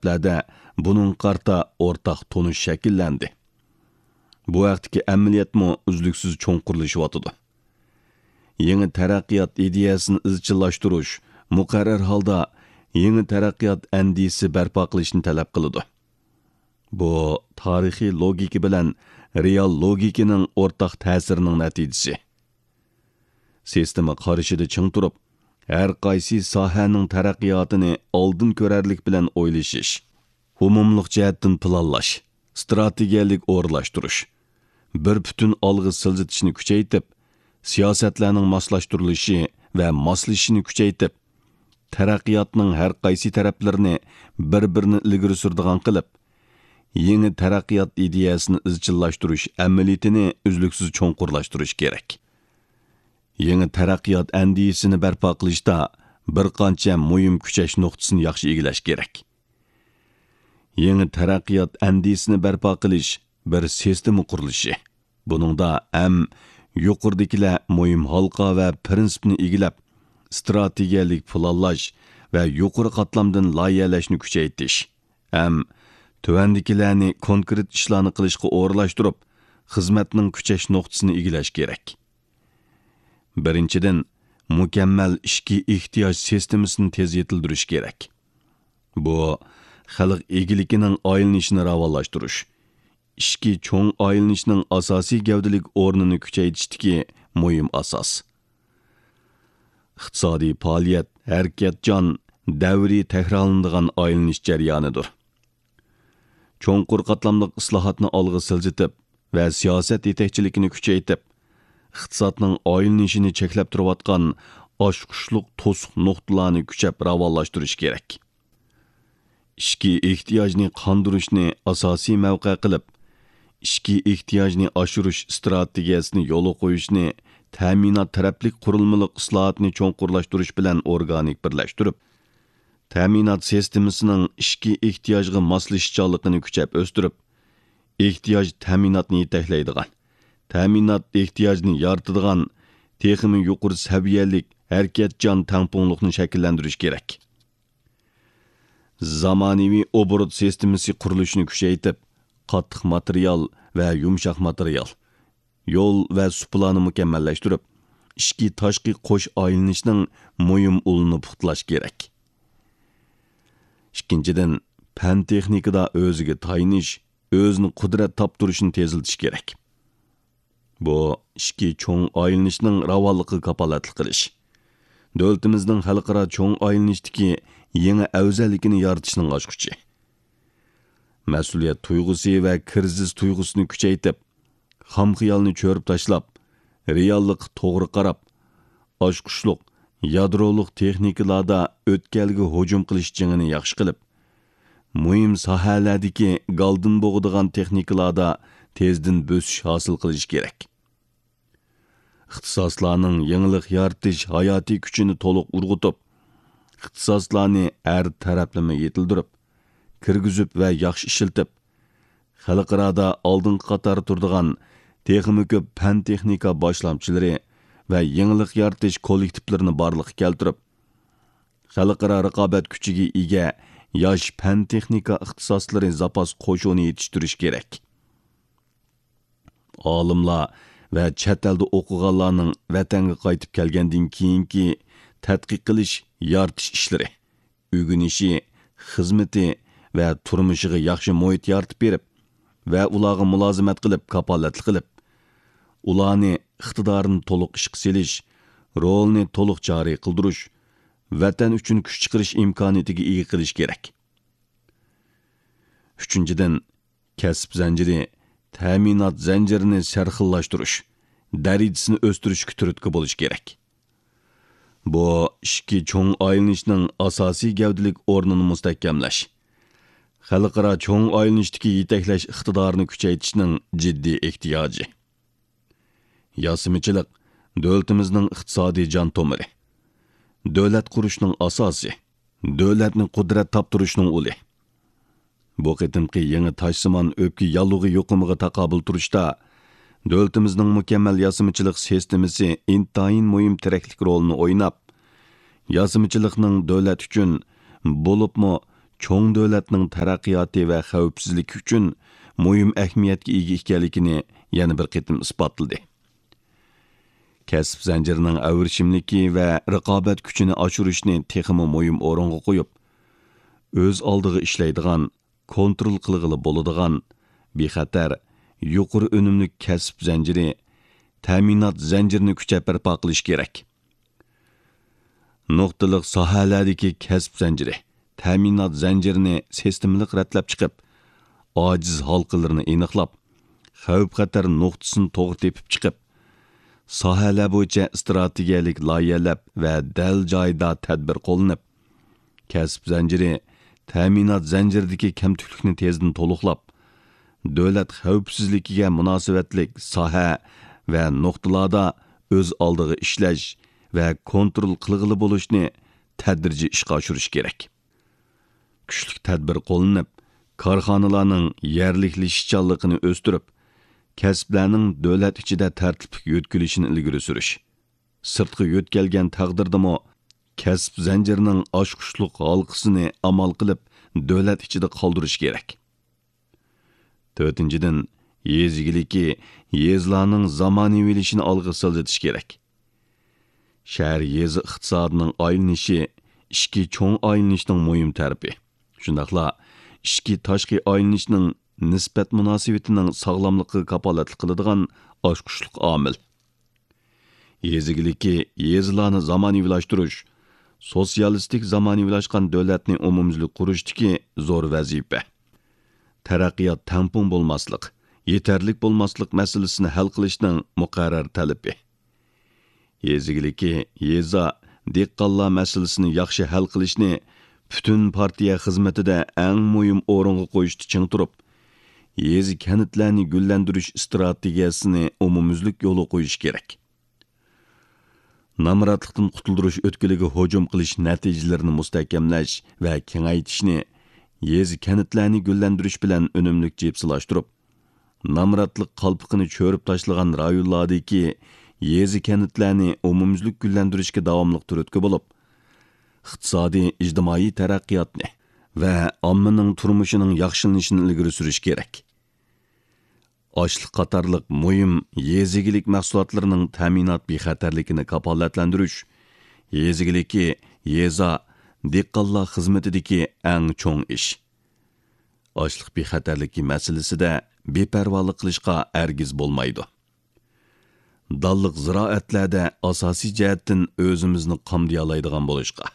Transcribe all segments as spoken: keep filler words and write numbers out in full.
لەردە بۇنىڭغا قارىتا ئورتاق تونۇش شەكىللەندى. بۇ ھەقتىكى ئەمەلىيەتمۇ ئۈزلۈكسىز چوڭقۇرلىشىۋاتىدۇ. يېڭى تەرەققىيات ئىدىيەسىنى ئىزچىللاشتۇرۇش مۇقەررەر ھالدا يېڭى تەرەققىيات ئەندىزىسى بەرپا قىلىشنى تەلەپ قىلىدۇ. بۇ تارىخىي لوگىكا بىلەن رېئال لوگىكىنىڭ ئورتاق تەسىرىنىڭ نەتىجىسى. سىستېما قارىشىدا چىڭ تۇرۇپ، ھەر قايسى ساھەنىڭ تەرەققىياتىنى ئالدىن كۆرەرلىك بىلەن ئويلىشىش، ئومۇملۇق جەھەتتىن پىلانلاش، ئىستراتېگىيەلىك ئورۇنلاشتۇرۇش، بىر پۈتۈن ئالغا سىلجىتىشنى كۈچەيتىپ، سىياسەتلەرنىڭ ماسلاشتۇرۇلۇشى ۋە ماسلىشىشىنى كۈچەيتىپ، تەرەققىياتنىڭ ھەر قايسى تەرەپلىرىنى بىر-بىرىنى ئىلگىرى سۈرىدىغان قىلىپ، يېڭى تەرەققىيات ئىدىيەسىنى ئىزچىللاشتۇرۇش ئەمەلىيىتىنى ئۈزلۈكسىز چوڭقۇرلاشتۇرۇش كېرەك. يېڭى تەرەققىيات ئەندىزىسىنى بەرپا قىلىشتا بىر قانچە مۇھىم كۈچەش نۇقتىسىنى ياخشى ئىگىلەش كېرەك. يېڭى تەرەققىيات ئەندىزىسىنى بەرپا قىلىش بىر سىستېما قۇرۇلۇشى. بۇنىڭدا ھەم يۇقىرىدىكىلەر مۇھىم ھالقا ۋە پىرىنسىپنى ئىگىلەپ، ئىستراتېگىيەلىك پىلانلاش ۋە يۇقىرى قاتلامدىن لايىھەلەشنى كۈچەيتىش، ھەم تۆۋەندىكىلەرنى كونكرېت ئىشلارنى قىلىشقا ئورۇنلاشتۇرۇپ، خىزمەتنىڭ كۈچەش نۇقتىسىنى ئىگىلەش كېرەك. بىرىنچىدىن، مۇكەممەل ئىچكى ئېھتىياج سىستېمىسىنى تېز يېتىلدۈرۈش كېرەك. بۇ، خەلق ئىگىلىكىنىڭ ئايلىنىشىنى راۋانلاشتۇرۇش، ئىچكى چوڭ ئايلىنىشنىڭ ئاساسىي گەۋدىلىك ئورنىنى كۈچەيتىشتىكى مۇھىم ئاساس. ئىقتىسادىي پائالىيەت ھەرىكەتچان، دەۋرىي تەكرارلىنىدىغان ئايلىنىش جەريانىدۇر. چوڭقۇر قاتلاملىق ئىسلاھاتنى ئالغا سىلجىتىپ ۋە سىياسەت يېتەكچىلىكىنى كۈچەيتىپ، ئىقتىسادنىڭ ئايلىنىشىنى چەكلەپ تۇرۇۋاتقان ئاچقۇچلۇق توسۇق نۇقتىلارنى كۈچەپ راۋانلاشتۇرۇش كېرەك. ئىچكى ئېھتىياجنى قاندۇرۇشنى ئاساسىي مەۋقە قىلىپ، ئىچكى ئېھتىياجنى ئاشۇرۇش ئىستراتېگىيەسىنى يولغا قويۇشنى، تەمىنات تەرەپلىك قۇرۇلمىلىق ئىسلاھاتنى چوڭقۇرلاشتۇرۇش بىلەن ئورگانىك بىرلەشتۈرۈپ، تەمىنات سىستېمىسىنىڭ ئىچكى ئېھتىياجغا ماسلىشىشچانلىقىنى كۈچەپ ئۆستۈرۈپ، ئېھتىياج تەمىناتنى يېتەكلەيدىغان، تەمىنات ئېھتىياجنى يارىتىدىغان تېخىمۇ يۇقىرى سەۋىيەلىك ھەرىكەتچان تەڭپۇڭلۇقنى شەكىللەندۈرۈش كېرەك. زامانىۋى ئوبوروت سىستېمىسى قۇرۇلۇشىنى كۈچەيتىپ، قاتتىق ماتېرىيال ۋە يۇمشاق ماتېرىيال، يول ۋە سۇپىلارنى مۇكەممەللەشتۈرۈپ، ئىچكى تاشقى قوش ئايلىنىشنىڭ مۇھىم ئۇلىنى پۇختىلاش كېرەك. ئىككىنچىدىن، پەن تېخنىكىدا ئۆزىگە تايىنىش، ئۆزىنى قۇدرەت تاپتۇرۇشنى تېزلىتىش كېرەك. بۇ ئىچكى چوڭ ئايلىنىشنىڭ راۋانلىقىغا كاپالەتلىك قىلىش، دۆلىتىمىزنىڭ خەلقئارا چوڭ ئايلىنىشتىكى يېڭى ئەۋزەللىكىنى يارىتىشنىڭ ئاچقۇچى. مەسئۇلىيەت تۇيغۇسى ۋە كىرىزىس تۇيغۇسىنى كۈچەيتىپ، خام خىيالنى چۆرۈپ تاشلاپ، رېئاللىققا توغرا قاراپ، ئاچقۇچلۇق يادرولۇق تېخنىكىلاردا ئۆتكەلگە ھۇجۇم قىلىش جېڭىنى ياخشى قىلىپ، مۇھىم ساھەلەردىكى گالدىن بوغىدىغان تېخنىكىلاردا تېزدىن بۆسۈش ھاسىل قىلىش كېرەك. ئىختىساسلارنىڭ يېڭىلىق يارىتىش ھاياتىي كۈچىنى تولۇق ئۇرغۇتۇپ، ئىختىساسلارنى ھەر تەرەپلىمە يېتىلدۈرۈپ، كىرگۈزۈپ ۋە ياخشى ئىشلىتىپ، خەلقئارادا ئالدىنقى قاتاردا تۇرىدىغان تېخىمۇ كۆپ پەن-تېخنىكا باشلامچىلىرى ۋە يېڭىلىق يارىتىش كوللېكتىپلىرىنى بارلىققا كەلتۈرۈپ، خەلقئارا رىقابەت كۈچىگە ئىگە ياش پەن-تېخنىكا ئىختىساسلىرى زاپاس قوشۇنى يېتىشتۈرۈش كېرەك. ئالىملار ۋە چەت ئەلدە ئوقۇغانلارنىڭ ۋەتەنگە قايتىپ كەلگەندىن كېيىنكى تەتقىق قىلىش، يارىتىش ئىشلىرى، ئۆگىنىشى، خىزمىتى ۋە تۇرمۇشىغا ياخشى مۇھىت يارىتىپ بېرىپ ۋە ئۇلارغا مۇلازىمەت قىلىپ، كاپالەتلىك قىلىپ، ئۇلارنى ئىقتىدارىنى تولۇق ئىشقا سېلىش، رولىنى تولۇق جارى قىلدۇرۇش، ۋەتەن ئۈچۈن كۈچ چىقىرىش ئىمكانىيىتىگە ئىگە قىلىش كېرەك. ئۈچىنچىدىن، كەسىپ زەنجىرى، تەمىنات زەنجىرىنى سەرخىللاشتۇرۇش، دەرىجىسىنى ئۆستۈرۈشكە تۈرتكە بولۇش كېرەك. بۇ ئىچكى چوڭ ئايلىنىشنىڭ ئاساسىي گەۋدىلىك ئورنىنى مۇستەھكەملەش، خەلقئارا چوڭ ئايلىنىشتىكى يېتەكلەش ئىقتىدارىنى كۈچەيتىشنىڭ جىددىي ئېھتىياجى. ياسىمىچىلىق دۆلىتىمىزنىڭ ئىقتىسادىي جان تومۇرى، دۆلەت قۇرۇشنىڭ ئاساسى، دۆلەتنى قۇدرەت تاپتۇرۇشنىڭ ئۇلى. بۇ قېتىمقى يېڭى تاشسىمان ئۆپكە ياللۇغى يۇقۇمىغا تاقابىل تۇرۇشتا، دۆلىتىمىزنىڭ مۇكەممەل ياسىمىچىلىق سىستېمىسى ئىنتايىن مۇھىم تىرەكلىك رولىنى ئويناپ، ياسىمىچىلىقنىڭ دۆلەت ئۈچۈن، بولۇپمۇ چوڭ دۆلەتنىڭ تەرەققىياتى ۋە خەۋپسىزلىكى ئۈچۈن مۇھىم ئەھمىيەتكە ئىگە ئىكەنلىكىنى يەنە بىر قېتىم ئىسپاتلىدى. كەسىپ زەنجىرىنىڭ ئەۋرىشىملىكى ۋە رىقابەت كۈچىنى ئاشۇرۇشنى تېخىمۇ مۇھىم ئورۇنغا قويۇپ، ئۆز ئالدىغا ئىشلەيدىغان، كونترول قىلغىلى بولىدىغان، بىخەتەر، يۇقىرى ئۈنۈملۈك كەسىپ زەنجىرى، تەمىنات زەنجىرىنى كۈچەپ بەرپا قىلىش كېرەك. نۇقتىلىق ساھەلەردىكى كەسىپ زەنجىرى، تەمىنات زەنجىرىنى سىستېمىلىق رەتلەپ چىقىپ، ئاجىز ھالقىلىرىنى ئېنىقلاپ، خەۋپ-خەتەر نۇقتىسىنى توغرا تېپىپ چىقىپ، ساھەلەر بويىچە ئىستراتېگىيەلىك لايىھەلەپ ۋە دەل جايىدا تەدبىر قوللىنىپ، كەسىپ زەنجىرى، تەمىنات زەنجىرىدىكى كەمتۈكلۈكنى تېزدىن تولۇقلاپ، دۆلەت خەۋپسىزلىكىگە مۇناسىۋەتلىك ساھە ۋە نۇقتىلاردا ئۆز ئالدىغا ئىشلەش ۋە كونترول قىلغىلى بولۇشنى تەدرىجىي ئىشقا ئاشۇرۇش كېرەك. كۈچلۈك تەدبىر قوللىنىپ، كارخانىلارنىڭ يەرلىكلىشىشچانلىقىنى ئۆستۈرۈپ، كەسىپلەرنىڭ دۆلەت ئىچىدە تەرتىپلىك يۆتكىلىشىنى ئىلگىرى سۈرۈش، سىرتقا يۆتكەلگەن تەقدىردىمۇ، كەسىپ زەنجىرىنىڭ ئاچقۇچلۇق ھالقىسىنى ئامال قىلىپ، دۆلەت ئىچىدە قالدۇرۇش كېرەك. تۆتىنچىدىن، يېزا ئىگىلىكى، يېزىلارنىڭ زامانىۋىلىشىشىنى ئالغا سىلجىتىش كېرەك. شەھەر يېزا ئىقتىسادىنىڭ ئايلىنىشى ئىچكى چوڭ ئايلىنىشنىڭ مۇھىم تەرىپى. شۇنداقلا ئىچكى تاشقى ئايلىنىشنىڭ نىسبەت مۇناسىۋىتىنىڭ ساغلاملىقىغا كاپالەتلىك قىلىدىغان ئاچقۇچلۇق ئامىل. يېزا ئىگىلىكى، يېزىلارنى زامانىۋىلاشتۇرۇش، سوتسىيالىستىك زامانىۋىلاشقان دۆلەتنى ئومۇميۈزلۈك قۇرۇشتىكى زور ۋەزىپە. تەرەققىيات تەڭپۇڭ بولماسلىق، يېتەرلىك بولماسلىق مەسىلىسىنى ھەل قىلىشنىڭ مۇقەررەر تەلىپى. يېزا ئىگىلىكى، يېزا، دېھقانلار مەسىلىسىنى ياخشى ھەل قىلىشنى پۈتۈن پارتىيە خىزمىتىدە ئەڭ مۇھىم ئورۇنغا قويۇشتا چىڭ تۇرۇپ، يېزا، كەنتلەرنى گۈللەندۈرۈش ئىستراتېگىيەسىنى ئومۇميۈزلۈك يولغا قويۇش كېرەك. نامراتلىقتىن قۇتۇلدۇرۇش ئۆتكىلىگە ھۇجۇم قىلىش نەتىجىلىرىنى مۇستەھكەملەش ۋە كېڭەيتىشنى، يېزا، كەنتلەرنى گۈللەندۈرۈش بىلەن ئۈنۈملۈك جىپسىلاشتۇرۇپ، نامراتلىق قالپىقىنى چۆرۈپ تاشلىغان رايونلاردىكى يېزا، كەنتلەرنى ئومۇميۈزلۈك گۈللەندۈرۈشكە داۋاملىق تۈرتكە بولۇپ، ئىقتىسادىي، ئىجتىمائىي تەرەققىياتنى ۋە ئاممىنىڭ تۇرمۇشىنىڭ ياخشىلىنىشىنى ئىلگىرى سۈرۈش كېرەك. ئاشلىق قاتارلىق مۇھىم يېزا ئىگىلىك مەھسۇلاتلىرىنىڭ تەمىنات بىخەتەرلىكىنى كاپالەتلەندۈرۈش، يېزا ئىگىلىكى، يېزا، دېھقانلار خىزمىتىدىكى ئەڭ چوڭ ئىش. ئاشلىق بىخەتەرلىكى مەسىلىسىدە بىپەرۋالىق قىلىشقا ھەرگىز بولمايدۇ. دانلىق زىرائەتلەردە ئاساسىي جەھەتتىن ئۆزىمىزنى قامدىيالايدىغان بولۇشقا،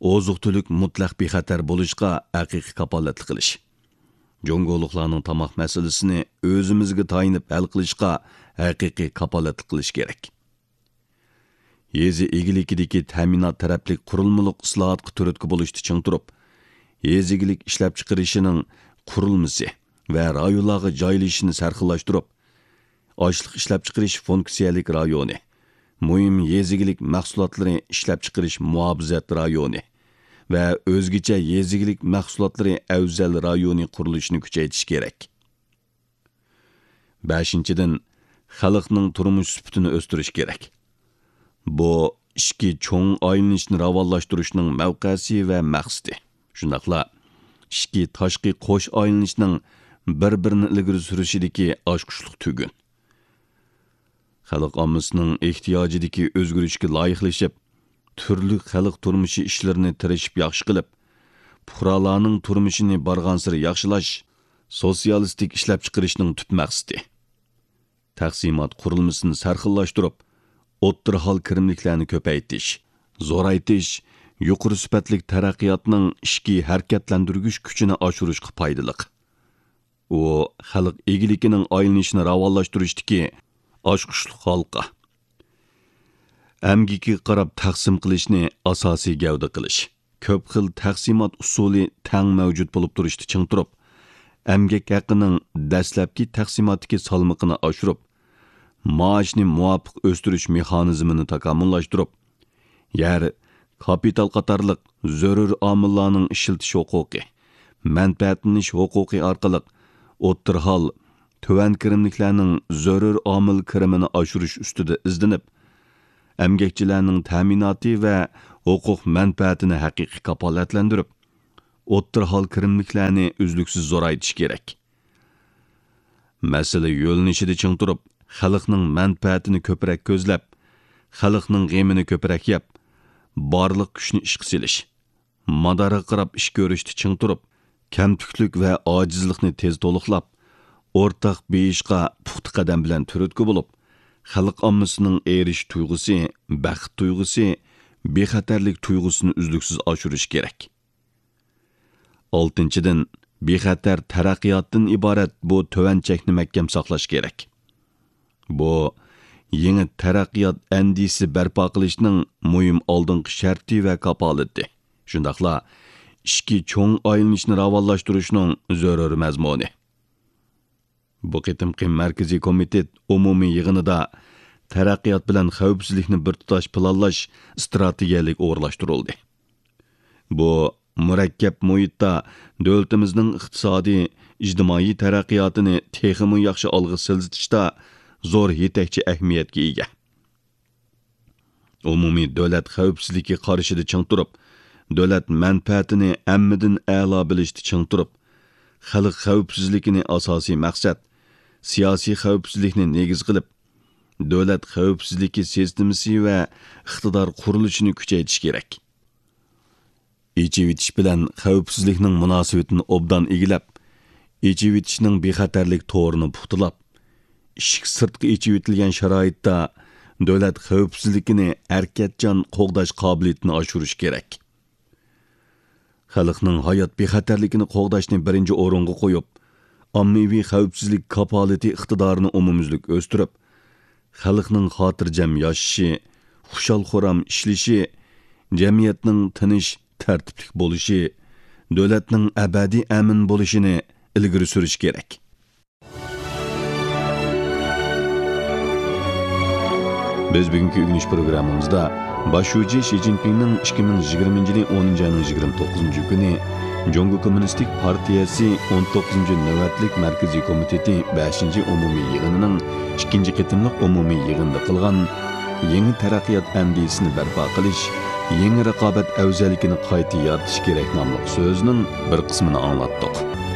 ئوزۇق-تۈلۈك مۇتلەق بىخەتەر بولۇشقا ھەقىقىي كاپالەتلىك قىلىش، جۇڭگولۇقلارنىڭ تاماق مەسىلىسىنى ئۆزىمىزگە تايىنىپ ھەل قىلىشقا ھەقىقىي كاپالەتلىك قىلىش كېرەك. يېزا ئىگىلىكىدىكى تەمىنات تەرەپلىك قۇرۇلمىلىق ئىسلاھاتقا تۈرتكە بولۇشتا چىڭ تۇرۇپ، يېزا ئىگىلىك ئىشلەپچىقىرىشىنىڭ قۇرۇلمىسى ۋە رايونلارغا جايلىشىشىنى سەرخىللاشتۇرۇپ، ئاشلىق ئىشلەپچىقىرىش فۇنكسىيەلىك رايونى، مۇھىم يېزا ئىگىلىك مەھسۇلاتلىرى ئىشلەپچىقىرىش مۇھاپىزەت رايونى ۋە ئۆزگىچە يېزا ئىگىلىك مەھسۇلاتلىرى ئەۋزەل رايونى قۇرۇلۇشىنى كۈچەيتىش كېرەك. بەشىنچىدىن، خەلقنىڭ تۇرمۇش سۈپىتىنى ئۆستۈرۈش كېرەك. بۇ ئىچكى چوڭ ئايلىنىشنى راۋانلاشتۇرۇشنىڭ مەۋقەسى ۋە مەقسىتى، شۇنداقلا ئىچكى تاشقى قوش ئايلىنىشنىڭ بىر-بىرىنى ئىلگىرى سۈرۈشىدىكى ئاچقۇچلۇق تۈگۈن. خەلق ئاممىسىنىڭ ئېھتىياجىدىكى ئۆزگىرىشكە لايىقلىشىپ، تۈرلۈك خەلق تۇرمۇشى ئىشلىرىنى تىرىشىپ ياخشى قىلىپ، پۇقرالارنىڭ تۇرمۇشىنى بارغانسېرى ياخشىلاش سوتسىيالىستىك ئىشلەپچىقىرىشنىڭ تۈپ مەقسىتى. تەقسىمات قۇرۇلمىسىنى سەرخىللاشتۇرۇپ، ئوتتۇرا ھال كىرىملىكلەرنى كۆپەيتىش، زورايتىش، يۇقىرى سۈپەتلىك تەرەققىياتنىڭ ئىچكى ھەرىكەتلەندۈرگۈچ كۈچىنى ئاشۇرۇشقا پايدىلىق. ئۇ خەلق ئىگىلىكىنىڭ ئايلىنىشىنى راۋانلاشتۇرۇشتىكى ئاچقۇچلۇق ھالقا. ئەمگىكىگە قاراپ تەقسىم قىلىشنى ئاساسىي گەۋدە قىلىش، كۆپ خىل تەقسىمات ئۇسۇلى تەڭ مەۋجۇت بولۇپ تۇرۇشتا چىڭ تۇرۇپ، ئەمگەك ھەققىنىڭ دەسلەپكى تەقسىماتتىكى سالمىقىنى ئاشۇرۇپ، مائاشنى مۇۋاپىق ئۆستۈرۈش مېخانىزمىنى تاكامۇللاشتۇرۇپ، يەر، كاپىتال قاتارلىق زۆرۈر ئامىللارنىڭ ئىشلىتىش ھوقۇقى، مەنپەئەتلىنىش ھوقۇقى ئارقىلىق ئوتتۇرا ھال، تۆۋەن كىرىملىكلەرنىڭ زۆرۈر ئامىل كىرىمىنى ئاشۇرۇش ئۈستىدە ئىزدىنىپ، ئەمگەكچىلەرنىڭ تەمىناتى ۋە ھوقۇق مەنپەئەتىنى ھەقىقىي كاپالەتلەندۈرۈپ، ئوتتۇرا ھال كىرىملىكلەرنى ئۈزلۈكسىز زورايتىش كېرەك. مەسىلە يۆنىلىشىدە چىڭ تۇرۇپ، خەلقنىڭ مەنپەئەتىنى كۆپرەك كۆزلەپ، خەلقنىڭ غېمىنى كۆپرەك يەپ، بارلىق كۈچنى ئىشقا سېلىش، مادارغا قاراپ ئىش كۆرۈشتە چىڭ تۇرۇپ، كەمتۈكلۈك ۋە ئاجىزلىقنى تېز تولۇقلاپ، ئورتاق بېيىشقا پۇختا قەدەم بىلەن تۈرتكە بولۇپ، خەلق ئاممىسىنىڭ ئېرىشىش تۇيغۇسى، بەخت تۇيغۇسى، بىخەتەرلىك تۇيغۇسىنى ئۈزلۈكسىز ئاشۇرۇش كېرەك. ئالتىنچىدىن، بىخەتەر تەرەققىياتتىن ئىبارەت بۇ تۆۋەن چەكنى مەھكەم ساقلاش كېرەك. بۇ، يېڭى تەرەققىيات ئەندىزىسى بەرپا قىلىشنىڭ مۇھىم ئالدىنقى شەرتى ۋە كاپالىتى، شۇنداقلا ئىچكى چوڭ ئايلىنىشنى راۋانلاشتۇرۇشنىڭ زۆرۈر مەزمۇنى. بۇ قېتىمقى مەركىزىي كومىتېت ئومۇمىي يىغىنىدا تەرەققىيات بىلەن خەۋپسىزلىكنى بىر تۇتاش پىلانلاش ئىستراتېگىيەلىك ئورۇنلاشتۇرۇلدى. بۇ مۇرەككەپ مۇھىتتا دۆلىتىمىزنىڭ ئىقتىسادىي، ئىجتىمائىي تەرەققىياتىنى تېخىمۇ ياخشى ئالغا سىلجىتىشتا زور يېتەكچى ئەھمىيەتكە ئىگە. ئومۇمىي دۆلەت خەۋپسىزلىكى قارىشىدا چىڭ تۇرۇپ، دۆلەت مەنپەئەتىنى ھەممىدىن ئەلا بىلىشتە چىڭ تۇرۇپ، خەلق خەۋپسىزلىكىنى ئاساسىي مەقسەت، سىياسىي خەۋپسىزلىكنى نېگىز قىلىپ، دۆلەت خەۋپسىزلىكى سىستېمىسى ۋە ئىقتىدار قۇرۇلۇشىنى كۈچەيتىش كېرەك. ئېچىۋېتىش بىلەن خەۋپسىزلىكنىڭ مۇناسىۋىتىنى ئوبدان ئىگىلەپ، ئېچىۋېتىشنىڭ بىخەتەرلىك تورىنى پۇختىلاپ، ئىشىك سىرتقا ئېچىۋېتىلگەن شارائىتتا دۆلەت خەۋپسىزلىكىنى ھەرىكەتچان قوغداش قابىلىيىتىنى ئاشۇرۇش كېرەك. خەلقنىڭ ھايات بىخەتەرلىكىنى قوغداشنى بىرىنچى ئورۇنغا قويۇپ، ئاممىۋى خەۋپسىزلىك كاپالىتى ئىقتىدارىنى ئومۇميۈزلۈك ئۆستۈرۈپ، خەلقنىڭ خاتىرجەم ياشىشى، خۇشال-خۇرام ئىشلىشى، جەمئىيەتنىڭ تىنچ، تەرتىپلىك بولۇشى، دۆلەتنىڭ ئەبەدىي ئەمىن بولۇشىنى ئىلگىرى سۈرۈش كېرەك. بىز بۈگۈنكى ئۆگىنىش پروگراممىمىزدا باش شۇجى شى جىنپىڭنىڭ ئىككى مىڭ يىگىرمىنچى يىلى ئونىنچى ئاينىڭ يىگىرمە توققۇزىنچى كۈنى جۇڭگو كوممۇنىستىك پارتىيەسى ئون توققۇزىنچى نۆۋەتلىك مەركىزىي كومىتېتى بەشىنچى ئومۇمىي يىغىنىنىڭ ئىككىنچى قېتىملىق ئومۇمىي يىغىنىدا قىلغان يېڭى تەرەققىيات ئەندىزىسىنى بەرپا قىلىش، يېڭى رىقابەت ئەۋزەللىكىنى قايتا يارىتىش كېرەك ناملىق سۆزىنىڭ بىر قىسمىنى ئاڭلاتتۇق.